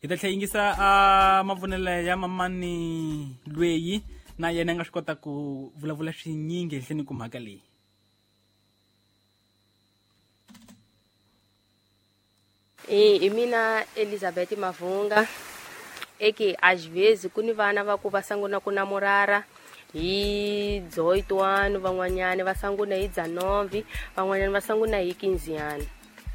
Hi ta tlhela yingisa a mavonelo ya mamani lweyi na yena a nga swi kota ku vulavula swinyingi ehenhleni ku mhaka leyi. Hi mina Elizabeth Mavunga. Eke às vezes ku ni vana va ku va sanguna ku namorara hi 18, van'wanyana va sanguna hi 19, van'wanyana va sanguna hi 15 ano.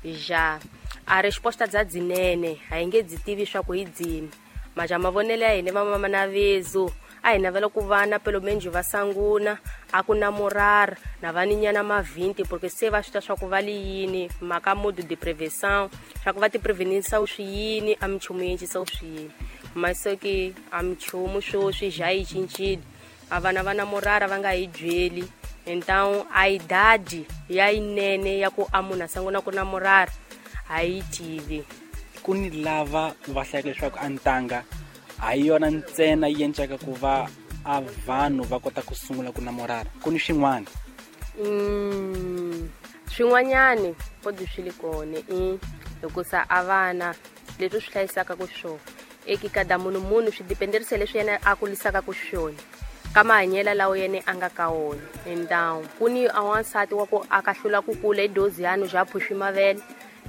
Ja a resposta dza dzinene a hi nge dzi tivi swa ku hi dzini, maja mavonelo ya hina vamama na vezo a hi navela ku vana pelo menos va sanguna a ku namorara na vaninyana ma 20, porque se va swi ta swa ku va li yini mhaka modo de prevenção, swa ku va ti prevenisa swi yini a minchumu yi encisa swi yini. Mas só que a minchumu sweswi ja yi cincile, a vana va namorara va nga hi byeli. Então a idade ya yinene ya ku a munhu a sanguna ku namorara a yi tivi. Ku ni lava va hlayaka leswaku a ntanga a hi yona ntsena yi encaka ku va a vanhu va kota ku sungula ku namorara, ku ni swin'wana. Swin'wanyani podi swi li kona i hikusa a vana leswi swi hlayisaka ku swona eki kada munhu munhu swi dependerisa leswi yena a kulisaka ku swona ka mahanyelo lawa yena a nga ka wona. Então ku ni a wansati wa ku a ka hlula ku kula hi dozi yanu ja phuxi mavele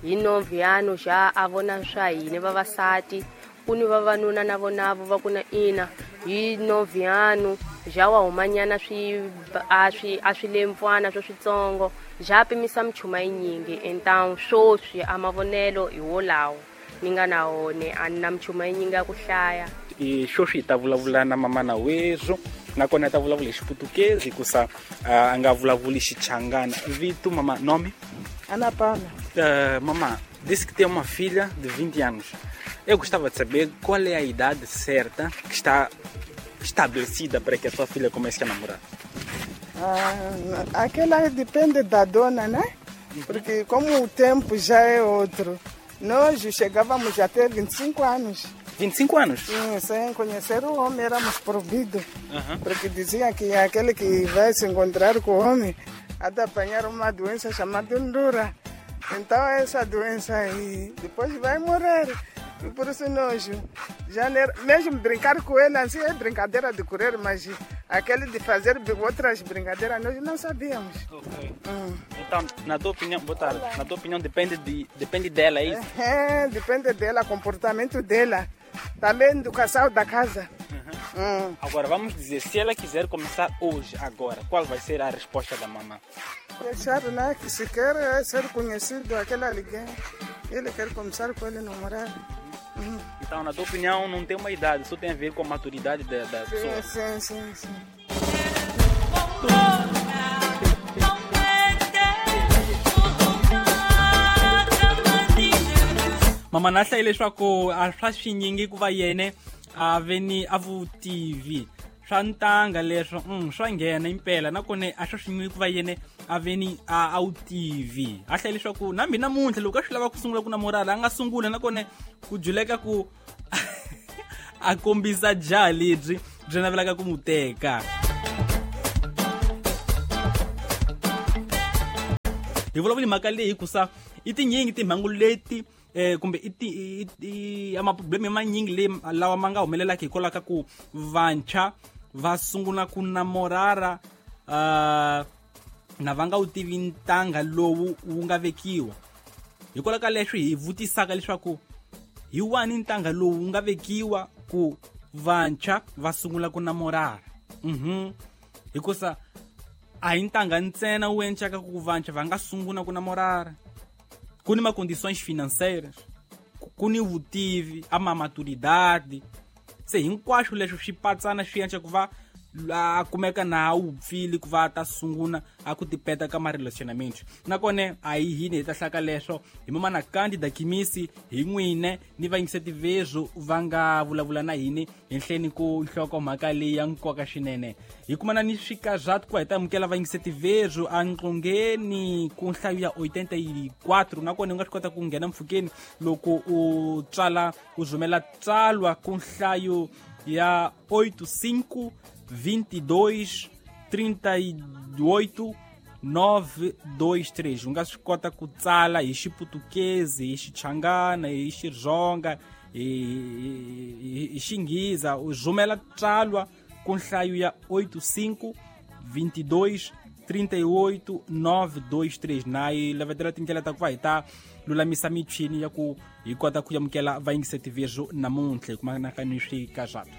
hi 9 yanu ja a vona swa hina vavasati, ku ni vavanuna na vonavo va ku na ina hi 9 yanu ja wa humanyana swi a swi a swi lempfwana swa switsongo ja pimisa minchumu yinyingi. Então swoswi a mavonelo hi wolawo ni nga na wona, a ni na minchumu yinyingi ya ku hlaya. I swoswi hi ta vulavula na mamana wezwo, nakona ta vulavula hi Xiputukezi hikusa a nga vulavuli Xichangana. Vito mama, nome? Ana Paula. Mama, disse que tem uma filha de 20 anos. Eu gostava de saber qual é a idade certa que está estabelecida para que a sua filha comece a namorar. Aquela depende da dona, né? Porque como o tempo já é outro, nós chegávamos até 25 anos. 25 anos? Sim, sem conhecer o homem éramos proibidos. Porque dizia que aquele que vai se encontrar com o homem há de apanhar uma doença chamada ndura. Então essa doença aí depois vai morrer. E por isso nós, já mesmo brincar com ele assim é brincadeira de correr, mas aquele de fazer outras brincadeiras nós não sabíamos. Okay. Então, na tua opinião, boa tarde, na tua opinião depende dela, é isso? É, depende dela, comportamento dela, também do casal da casa. Agora, vamos dizer, se ela quiser começar hoje, agora, qual vai ser a resposta da mamã? Deixar, né, que se quer é ser conhecido aquele alguém, ele quer começar com ele namorar. Então, na tua opinião, não tem uma idade, só tem a ver com a maturidade da pessoa. Sim, sim, sim. Mama na hlayile leswaku a swa swinyingi ku va yene a ve ni a vutivi swa ntanga leswo, swa nghena impela, nakona a swa swinyingi ku va yene a ve ni a wu tivi. A hlayile leswaku na mina namuntlha loko a swi lava ku sungula ku namorala a nga sungula, nakona ku juleka ku a kombisa jaha lebyi byi navelaka ku n'wi teka. Hi vulavula mhaka leyi hikusa i tinyingi timhangu leti kumbe i amaprobleme manyingi leyi lawa ma nga humelelaka hikwalaho ka ku vantshwa va sungula ku namorara na va nga wu tivi ntanga lowu wu nga vekiwa. Hikwalaho ka leswi hi vutisaka leswaku hi wani ntanga lowu wu nga vekiwa ku vantshwa va sungula ku namorara. Hikusa a hi ntanga ntsena wu encaka ku vantshwa va nga sungula ku namorara. Ku ni ma-condições financeiras, ku ni vutivi, a ma maturidade. Se hinkwaswo leswi swi patsana swi endla ku va a kumeka na wu pfili ku va ta sungula a ku tipeta ka ma-relationamento. Nakona a hi hini hi ta hlaka leswo hi mamana Candida Khimisi hi n'wine ni vayingiseti vezwo va nga vulavula na hini henhleni ku nhlokomhaka leyi ya nkoka swinene. Hi kumana ni swikazatu ku va hi ta amukela vayingiseti vezwo anqongeni ku nhlayo ya 84, nakona u nga swi kota ku nghena mpfhukeni loko u tsala u rhumela tsalwa ku nhlayo ya 85 22 38 923. U nga swi kota ku tsala hi Xiputukezi, hi Xichangana, hi Xitsonga, hi xinghiza u rhumela tsalwa ku nhlayo ya 85 22 38 923. Na yi lavetela tindlela ta ku va hi ta lulamisa michini ya ku hi kota ku amukela vayingiseti vezu namuntlha hi kumanaka ni swikazatu.